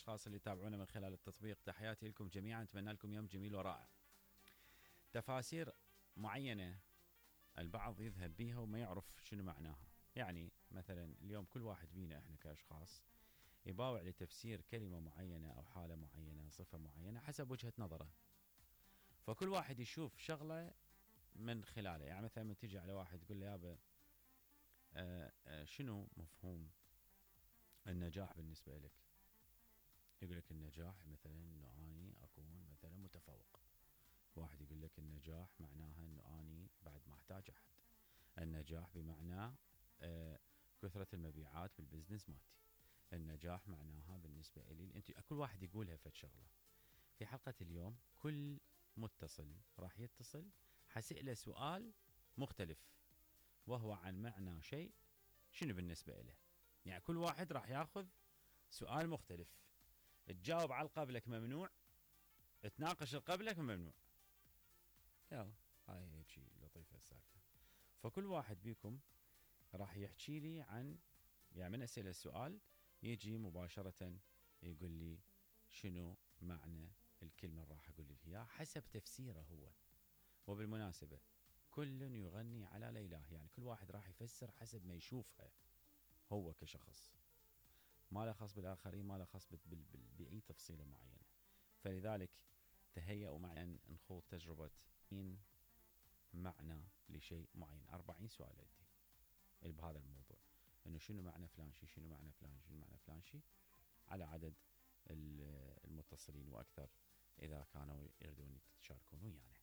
الأشخاص اللي يتابعونا من خلال التطبيق. تحياتي لكم جميعا، أتمنى لكم يوم جميل ورائع. تفاسير معينة البعض يذهب بيها وما يعرف شنو معناها. يعني مثلا اليوم كل واحد بينا احنا كأشخاص يباوع لتفسير كلمة معينة أو حالة معينة، صفة معينة حسب وجهة نظره. فكل واحد يشوف شغلة من خلاله. يعني مثلا من تيجي على واحد تقول له يابا شنو مفهوم النجاح بالنسبة لك؟ يقول لك النجاح مثلا انه اني اكون مثلا متفوق. واحد يقول لك النجاح معناها انه اني بعد ما احتاج احد. النجاح بمعنى كثرة المبيعات بالبزنس مالتي. النجاح معناها بالنسبة لي انت، كل واحد يقولها فد شغلة. في حلقة اليوم كل متصل راح يتصل حسئله سؤال مختلف وهو عن معنى شيء شنو بالنسبة له. يعني كل واحد راح ياخذ سؤال مختلف. تجاوب على القبلك ممنوع، تناقش القبلك ممنوع. يلا هاي هيك لطيفة السالفة. فكل واحد بيكم راح يحكي لي عن، يعني من أسئلة السؤال يجي مباشرة يقول لي شنو معنى الكلمة اللي راح أقول لي إياها حسب تفسيره هو. وبالمناسبة كل يغني على ليلاه، يعني كل واحد راح يفسر حسب ما يشوفها هو كشخص، ما له خاص بالآخرين، ما له خاص بأي تفصيلة معينة. فلذلك تهيئوا معي أن نخوض تجربة معنى لشيء معين. 40 سؤال عندي بهذا الموضوع، انه شنو معنى فلان شيء، شنو معنى فلان شيء، شنو معنى فلان شيء، على عدد المتصلين واكثر اذا كانوا يريدون يتشاركون ويانا.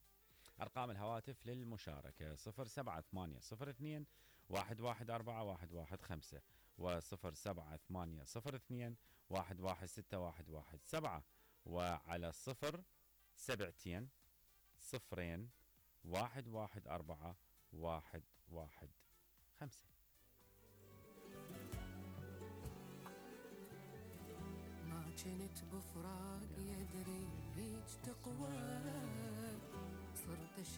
ارقام الهواتف للمشاركه 07802 114 115 و07802 116 وعلى 072 0 114 115. ما كنت بفراق يدري هيج تقوى، صرت